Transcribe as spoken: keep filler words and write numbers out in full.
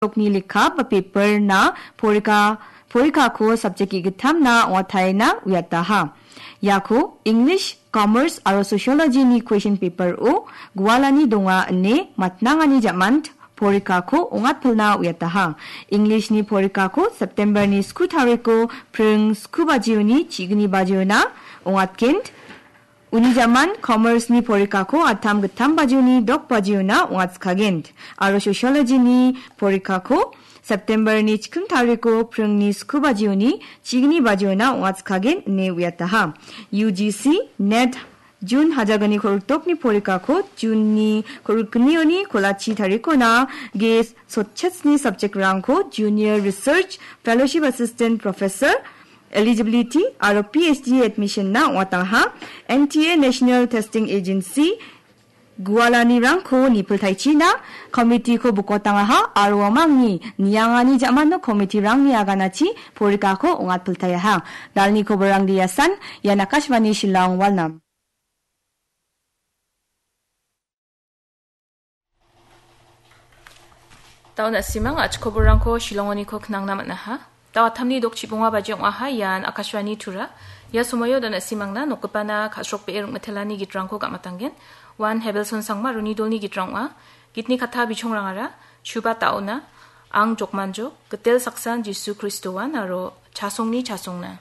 Dokni lekka ba paper-na porika, porikako subject ge·gittamna ong·ataina uiataha. Iako English, Commerce aro Sociology-ni question paper-o gualani donga ine matnangani jamant porikako ong·atpilna uiataha. English-ni porikako September-ni sku tariko pring sku bajioni chigni bajiona ong·atgen. Uni jaman Commerce-ni porikako attam gittam bajioni dok bajiona ong·atskagent. Aro Sociology-ni porikako September-ni chiking tariko pringni sku bajioni chigni bajiona ong·atskagent ine uiataha. U G C, net, June hajalgni kortokni porikako June-ni korknioni kolachi tarikona ge sotchetsni subject-rangko Junior Research Fellowship Assistant Professor Eligibility aro P H D admission-na ong·atangaha. N T A National Testing Agency gualanirangko nipiltaichina committee-ko bokotangaha aro uamangni niangani ja·mano committee-rangni aganachi porikako ong·atpiltaiaha. Dalni koborang Diasan, ian Akashvani Shillong Walnam. Dao na·simang a·chik koborrangko Shillongoniko knangna man·aha. Dao atamni dok chibonga baji ong·aha, ian Akashvani Tura. Ia somoio dao na·simangna nokgipana ka·srokbee ring·mitelani gitrangko gam·atanggen. Wan Hebelson Sangma Roni Dolni gitrang ong·a. Gitni katta bichongrangara, Chuba Taona, Ang Jokmanjok, Gitel Saksan Jisu Kristoan aro Chasongni Chasongna.